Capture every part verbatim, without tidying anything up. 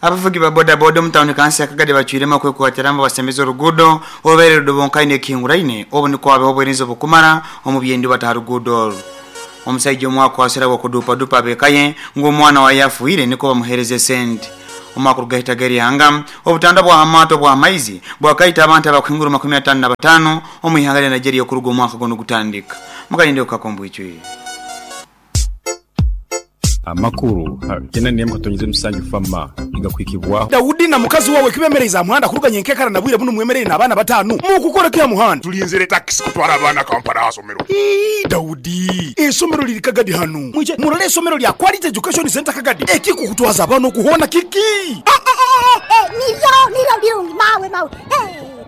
Abavugi ba bodaboda omu tawuni kansi ya Kagadi bacwiremu okwekwatiramo basemeza oruguudo orubaire rudobonkaine ekihinguraine obu nikwo habeho obuherizo obukumara omu byendiba ha ruguudo oru. Omusaija omwe akwasire habw'okudupadupa ab'eka ye ngu omwana waye afiire nikwo bamuheereza esente. Omwaka orugahitaga erihanga obutanda bwa hamaato bw'amaizi bwakaita abantu abakuhingura makumi ataano na bataano omu ihanga lya Nigeria okuruga omwaka gunu gutandika. Mukalinde okukakombwicwi. Amakuru tena nemu katonyeze musanju fama igakwikibwa Daudi na mukazi wawe kibemereza muhanda kuruganya enkekara na bwire buno mwemerere n'abaana batano mukukora kya muhanda tulinzire taxi kutwara abaana Kampala asomero. Ii, Daudi esomero liri Kagadi hano mwije murole esomero lya Quality Education Center Kagadi ekikukutwaza abaana okuhona kiki niryo niryo birungi mawe mawe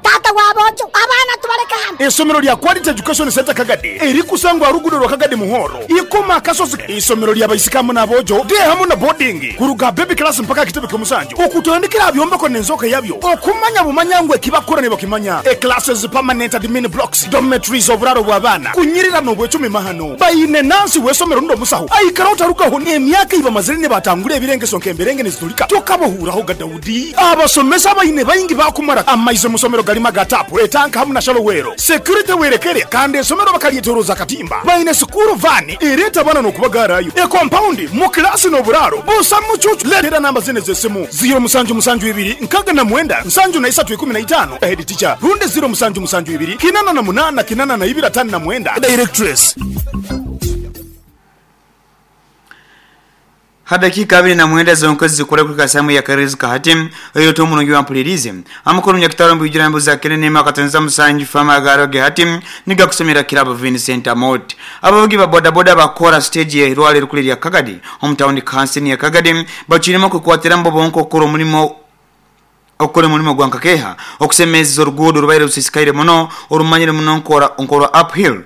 tata wabojo abaana tubaleka hano. Esomero lya Quality Education Center Kagadi erikusangwa rugudo rwa Kagadi Muhoro ikoma akasozi. Isomero lya baisikamu n'abojo de hamu na boarding kuruga baby class mpaka kitebe ky'omusanju okutandikira byombeko n'enzoka yabyo okumanya bumanya ngwe ekibakora ne bakimanya e classes, permanent admin blocks, dormitories, oburaro bw'abaana kunyirira n'obwecumi mahano bayine nansi w'esomero ndo musaho aikara otarugaho emyaka ibamazire ne batangura ebirengeso nk'emberenge nizitulika tokabahuuraho ga Daudi. Abasomesa bayine bayingi bakumara amaize musomero galima gatapu etanka hamu na shalowero security werekere kandi esomero bakalyetoroza katimba bayine sukuru vani ereta bana n'okubagarayo e compound mu klasi n'oburaro busa mucucu. Letera namba zine z'esimu zero musanju musanju ibiri nkaga na mwenda nsanju na isatu ikumi na itano head teacher runde zero musanju musanju ibiri kinana na munana kinana na ibiri atano na mwenda directress. Hadakika abiri na mwenda zonkozi zikora kuri kasamu ya Karezi Kahati eyo to munongi wampulirize amakuru nyakitaro mbijira mbuza kenene makatanza musanju fama garoge hati niga kusomera kirabo Vincent Amot. Abavugi ba boda boda bakora stage ya Irwale rukuli ya Kagadi hometown council ya Kagadi bachirimo kukwatira mbo bonko okora omulimo okora omulimo gwa nkakeha okusemeza oruguudo rubaire rusisikaire muno orumanyire muno nkora nkora uphill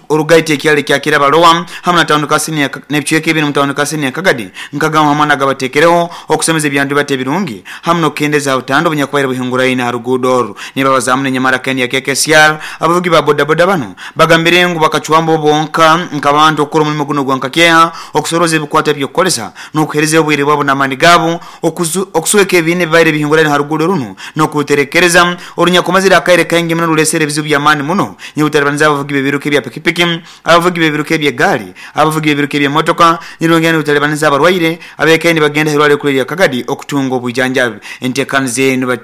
orugaite ekyalo kya Kirabalowa hamwe na town council ya n'ebicweka ebiri mu town council ya Kagadi nkagamba hamwe nagabatekereho okusemeza ebyandu bate birungi hamwe n'okukendeza obutando obunyakubaire buhinguraine ha ruguudo oru. Nibabazamu n'enyamara kendi ya K K C R abavugi ba bodaboda bano bagambire ngu bakacwambo bonka nk'abantu okukora omulimo guno gwa nkakeha okusoroza ebikwata ebyokukoresa n'okuhereza obwire bwabo n'amaani gaabo okusweka ebiine bibaire bihinguraine ha ruguudo runo nokuterekereza orunyakomazira akaire kaingi muno rulesere ebizibu by'amaani muno nyibutarabaniza abavugi b'ebiruka ebya pikipiki, abavugi b'ebiruka eby'egaari, abavugi b'ebiruka eby'emotoka nirongera nibutarabaniza abarwaire abekaini bagenda herwale kuri ya Kagadi okutunga obujanjabi. Enteekaniza enu ba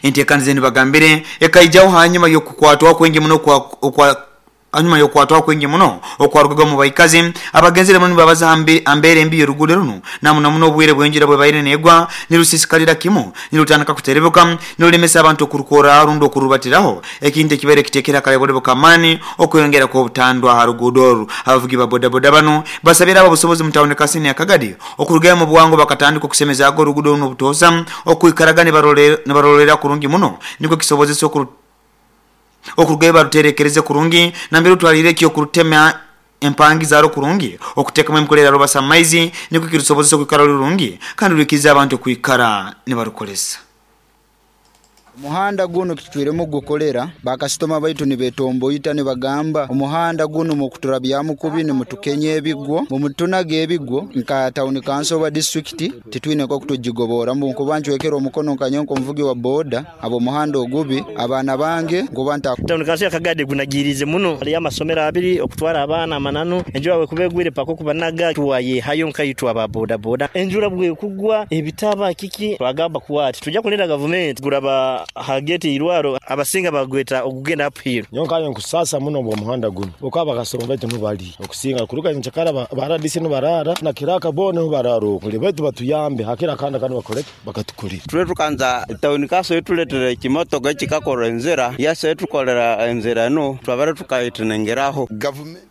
enteekaniza enu bagambire ekaijaho hanyuma y'okukwatwa kwingi muno kwa okwa anyuma yokwatwa kwingi muno okwarugaga mu baikazi abagenzere muno babaza ambere embi yorugudo runo namuno muno obwire bwenjira bwe baire negwa nirusisikalira kimu nirutandika kuterebuka nirulemesa abantu okurukora rundo okurubatiraho ekintu ekibere kitekera kale bole bukamani okwongera kwa obutandwa ha rugudo oru. Abavugi ba bodaboda bano basabira abo busobozi mu town council ya Kagadi okurugayo mu bwangu bakatandika okusemeza ago rugudo runo obutosa okwikaraga ne barolera kurungi muno niko kisobozesa okuru okurugayo baruterekereze kurungi nambere utwalire ekyo kurutema empangi zaro kurungi okutekamo emkolera robasa maizi niko kirusobozesa okwikara rurungi kandi rukiza abantu kwikara ne barukolesa. Omuhanda guno kitwiremu gukolera bakasitoma baitu nibetomboita nibagamba omuhanda guno mukuturabyamu kubi nimutukenye ebigwo mumutunaga ebigwo nka town council wa district titwine ko kutujigobora mbu nkuba ncwekera omukono nkanyonko omuvugi wa boda abo omuhanda ogubi abaana bange nkuba nta town council ya Kagadi gunagirize muno ali amasomero abiri okutwara abaana amananu enjura we kubegwire pako kubanaga tuwaye hayo nkaitwa aba boda boda enjura bwe kugwa ebitaba kiki twagamba kuwati tujja kulenda government guraba hageti irwaro abasinga bagweta okugenda uphill nyonka nkusasa muno bwo muhanda guno okaba kasoro baitu nubali okusinga kuruka nchakara baradisi nubarara na kiraka bone nubararo kuli baitu batuyambe hakira kanda kandi bakoleke bakatukulira tule tukanza town council tuletere kimotoka kikakora enzera yase tukolera enzera no twabara tukayitinengeraho government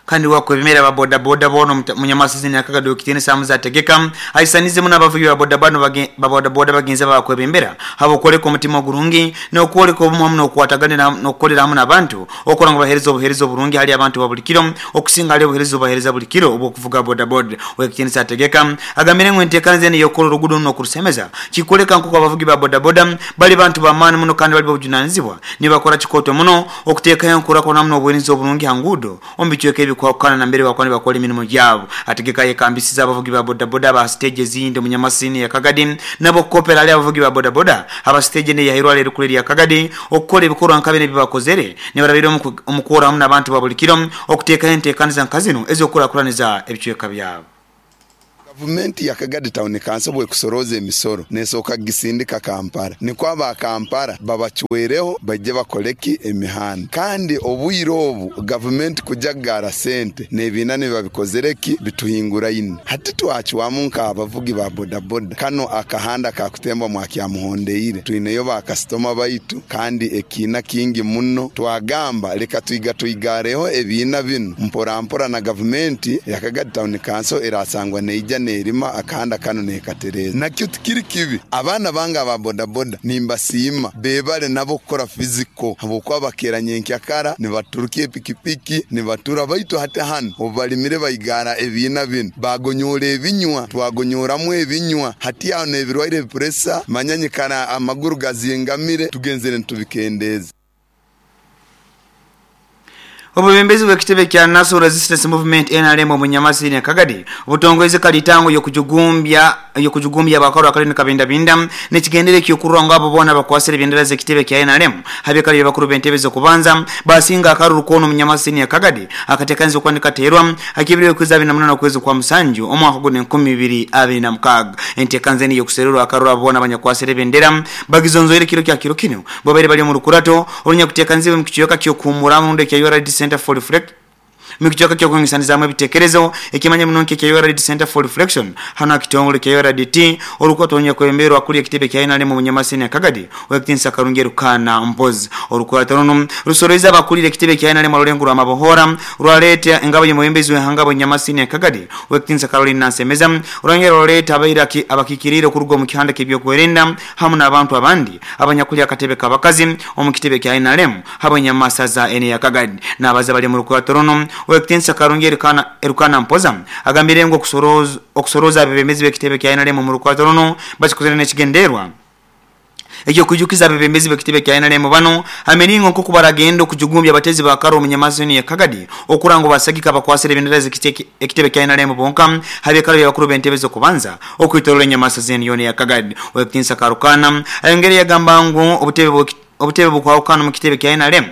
kandi wakwebemera ba boda boda bono munyamasisi ni akagado kitene samuza tegeka aisanize muno abavugi ba boda bano ba boda boda bagenza bakwebembera habo koleka omutima gurungi n'okwoleka obumu hamu n'okwatagana n'okukolera hamu n'abantu okora ngo bahereza obuhereza oburungi hali abantu ba buli kiro okusinga hali obuhereza obahereza buli kiro obw'okuvuga boda boda. Wekitene sategeka agambire ngo enteekaniza eno y'okukola oluguudo n'okurusemeza kikoleka nkuko abavugi ba boda boda bali bantu b'amaani muno kandi bali bobujunanizibwa nibakora kikoto muno okuteekayo enkurakona muno obuhereza oburungi ha nguudo omu bicweka ebi ebikwakana nambere bakwani bakora emirimu gyabo. Ategeka yekambisiza abavugi ba bodaboda ba stage ezindi mu Nyamasini ya Kagadi nabo kopera ali abavugi ba bodaboda aba stage ne yahirwa lero kuli ya Kagadi okukola ebikorwa nkabe ne bibakozere ne barabira omukora hamwe n'abantu ba buli kiro okuteeka enteekaniza nkazino ez'okukulakulaniza ebicweka byabo. Gavumenti ya Kagadi Town Council bwe kusoroza emisoro nesoka gisindika Kampala niko aba Kampala babachwereho bajje bakoleki emihanda kandi obwiro obu gavumenti kujagara sente nebina ne babikozereki bituhingura ine hati twachwamu nka abavugi ba bodaboda kano akahanda kakutemba mwakya muhondeire twineyo ba customer baitu kandi ekina kingi muno twagamba leka twiga twigareho ebina bino mpora mpora na gavumenti ya Kagadi Town Council erasangwa neija nerima akahanda kano nekatereza nakyo tikiri kibi abana banga ba bodaboda nimbasima bebale nabo kukora physical habwokuba bakeranye nkyakara nibaturukiye pikipiki nibatura baitu hata hano obalimire bayigara ebina bino bagonyora ebinywa twagonyoramu ebinywa hati aho nebirwaire pressure manyanyikana amaguru gazingamire tugenzere ntubikendeza. Obubembezi bw'ekitebe kya National Resistance Movement N R M mu Nyamasini ya Kagadi obutongweze kalitango yokujugumbya yokujugumbya abakaro akalini kabinda binda nekigendere kyokurwa ngabo bona bakwasire bendera z'ekitebe kya N R M habekali bakuru bentebe zo kubanza basinga akaruru kono mu Nyamasini ya Kagadi akatekanzo kwandika terwa akibiriwe kuza bina munana kwezi kwa musanju omwaka gune nkumi bibiri abiri na mukaga entekanzeni yokusererwa akaruru abona abanyakwasire bendera bagizonzoire kiro kya kiro kino bobere bali mu rukurato orunya kutekanziwe mu kiyoka kyo kumuramu nde kya U R D Center for Reflect mikichoka kyo kungisaniza mu bitekerezo ekimanya munonke kya U R D Center for Reflection hano akitongole kya U R D T orukoto onya kwemberwa kuli ekitebe kya N R M mu Nyamasini ya Kagadi wekitinsa karungeru kana mpozi orukoto runo rusoreza abakulire ekitebe kya N R M rulengo amabohora rwaleta engabo y'omwembezi w'ehangabo Nyamasini ya Kagadi wekitinsa Caroline Nansemeza urangero rwaleta abairaki abakikirire kurugo mu kihanda kebyokwerinda hamwe n'abantu abandi abanyakuli akatebe kabakazi omu kitebe kya N R M habo Nyamasa za N ya Kagadi n'abaza bali mu rukoto runo wekitinsa karungeri kana erukana mpoza agambire ngo okusoroza okusoroza abebembezi b'ekitebe kya N R M mu rukwato runo bakikozere n'ekigenderwa ekyo kujukiza abebembezi b'ekitebe kya N R M bano ameningo nko kubaragendo kujugumbya abatezi ba karo mu Nyamasini ya Kagadi okurango basagika bakwasire bendera z'ekitebe kya N R M bonka habekalo yakuru bentebe zo kubanza okwitorora Nyamasa zeni yone ya Kagadi wekitinsa karukana ayongere yagamba ngo obutebe obutebe bukwawukana mu kitebe kya N R M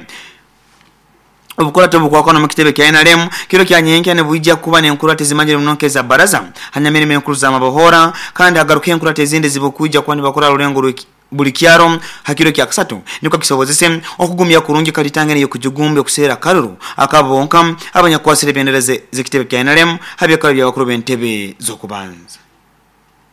Obukurato bukwakona mu kitebe kya N R M kiro kya nyenke ne buija kuba ne nkurate zimanyire munonke za baraza hanyamire menkuru za mabohora kandi hagaruke nkurate zindi zibukuja kwani bakora rulengo buli kyaro hakiro kya kasatu niko kisobozese okugumya kurungi kalitangene yo kujugumbya kusera karuru akabonka abanyakwasire bendera z'ekitebe kya N R M habyakalo bya bakuru bentebe zo kubanza.